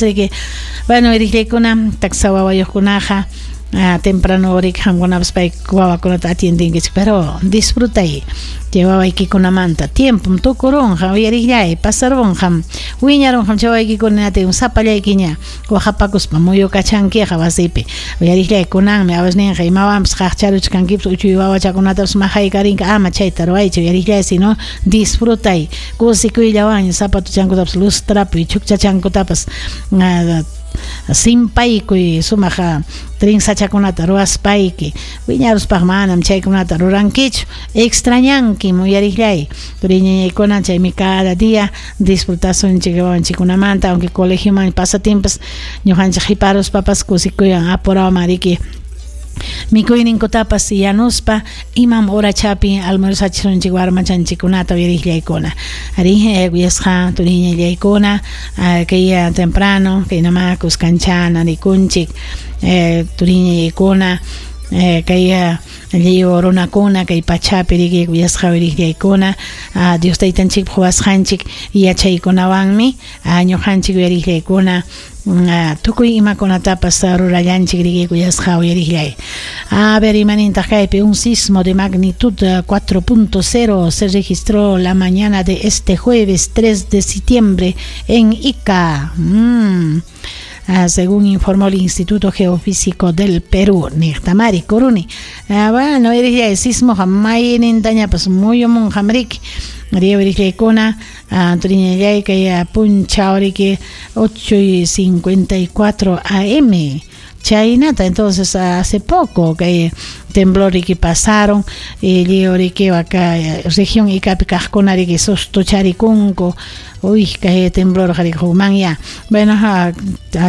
Riki, bueno, uyariqllaykuna, taksa wawayuqkunaqa temprano riki qamkunapas pay wawakunata atiendinkichik, pero disfrutay chay wawaykikunamanta. Tiempom tukurunqa, uyariqllay, pasarunqam, wiñarunqam chay wawaykikuna, sapallaykiña waqapakuspa muyukachankiqa wasipi. Uyariqllay, kunanmi awasninqa imawanpas qaqcharuchkankipas, uchuy wawachakunatapas maqaykarinka, ama chayta ruwaychu, uyariqllay, sino disfrutay, kusikuyllawanña zapatuchankutapas lustrapuy, chukchachankutapas simpaykuy, sumaq trenzachakunata ruwaspayki. Wiñaruspaq manam chaykunata rurankichu, extrañankim, uyariqllay, turiñañaykuna. Chaymi cada día disfrutasunchik wawanchikkunamanta, aunque colegioman pasatinpas ñuqanchik qiparuspapas kusikuywan apurawan riki mikuyninkutapas yanuspa imam horachapi almuerzachisunchik warmachanchikkunata, uyariqllaykuna. Ari, kuyasqa turiñallaykuna, kay temprano kaynama kuskanchana rikunchik, turiñallaykuna, kay lliw runakuna kay pachapi, riki, kuyasqa uyariqllaykuna, Dios Taytanchikpa quwasqanchik yachaykunawanmi ñuqanchik, uyariqllaykuna, tukuy imakunatapas rurallanchik, riki, kuyasqa uyariqllay. A ver, imanintaq kaypi? Un sismo de magnitud 4.0 se registró la mañana de este jueves 3 de septiembre en Ica. Según informó el Instituto Geofísico del Perú. Niqtamari kuruni. Bueno, el sismo maynintañapas muyumunqam, riki. Riuriqllaykuna, turiñallay, kay punchaw, riki, 8 y 54 AM. Chaynata, entonces hace poco kay temblor riki pasaron y lliw riki acá región Icapi kaqkuna riki sustucharikunku. Uy, kay temblor ya. Bueno, a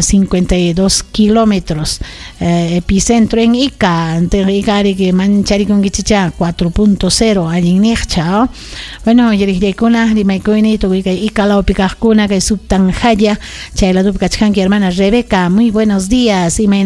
52 kilómetros, epicentro en Ica, Ica riki mancharikunkichicha, 4.0 allin niqcha. Bueno, yariqllaykuna, rimaykuyni tukuy kay Ica lawpi kaqkuna, kay Subtanjaya, chay ladopi kachkanki, hermana Rebeca, muy buenos días, imaynallam.